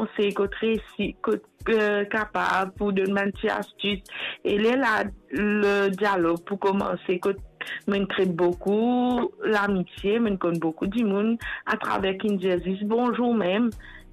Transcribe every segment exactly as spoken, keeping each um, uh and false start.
konsey, kot resi, kot, eh, kapav pou donn bann ti astis. E lerla, le dialog pou koumanse, kot mo'nn kre boukou lamitie, mo'nn konn boukou dimoun atraver ki'nn dir zis bonzour mem.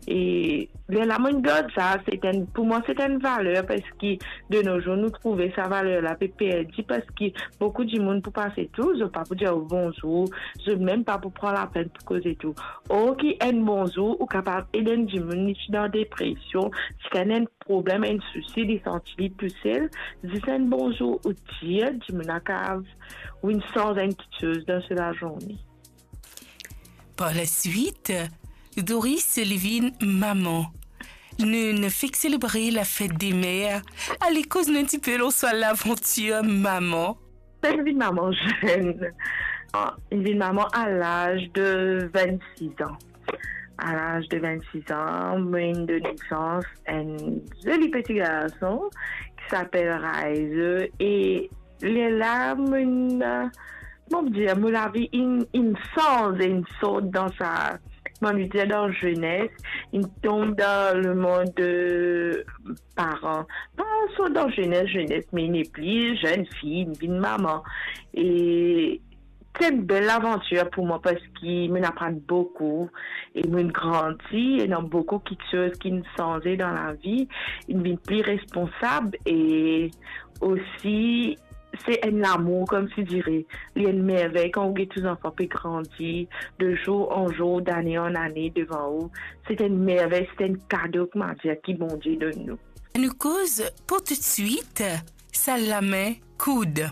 E lerla mo'nn gard sa, se enn, pou mwa se enn valer, parski de no zour nou trouve sa valer la pe perdi, parski boukou dimoun pou pase tou, zot pa pou dir ou bonzour, zot mem pa pou pran lapenn pou koze tou. Or ki enn bonzour, ou kapav ed enn dimoun, li ti dan depresion, si li ena enn problem, enn sousi, li santi li tousel, zis enn bonzour ou dir, dimoun la kapav, ou inn sanz enn kiksoz dan so lazourne. Par laswit, Doris li vinn mama. Nou, nou fek selebre lafet de mer. Ale koz nou enn tipe lor so lavantir mama. Mo'nn vinn mama zenn. Ah, mo'nn vinn mama a laz de vennsis an. A laz de vennsis an, mo'nn donn nesans enn zoli peti garson ki apel Raizo. E lerla, mo'nn, eh, kouma dir, mo lavi inn, inn sanz, inn sort dan sa, kouma dir, dan zenes, inn tom dan lemond de paran. Pa sort dan zenes, zenes, me nepli zenn fi, inn vinn mama. E se enn bel lavantir pou mwa, parski mo'nn aprann boukou e mo'nn grandi, e ena boukou kiksoz ki'nn sanze dan lavi, inn vinn pli responsab, e osi se enn lamour, kouma dir, li enn mervey kan ou get to zanfan pe grandi de zour an zour, dane an ane devan ou. Se enn mervey, se enn kado, kouma dir, ki Bondie donn nou. Nou koz pou toutswit, Sal lame koud.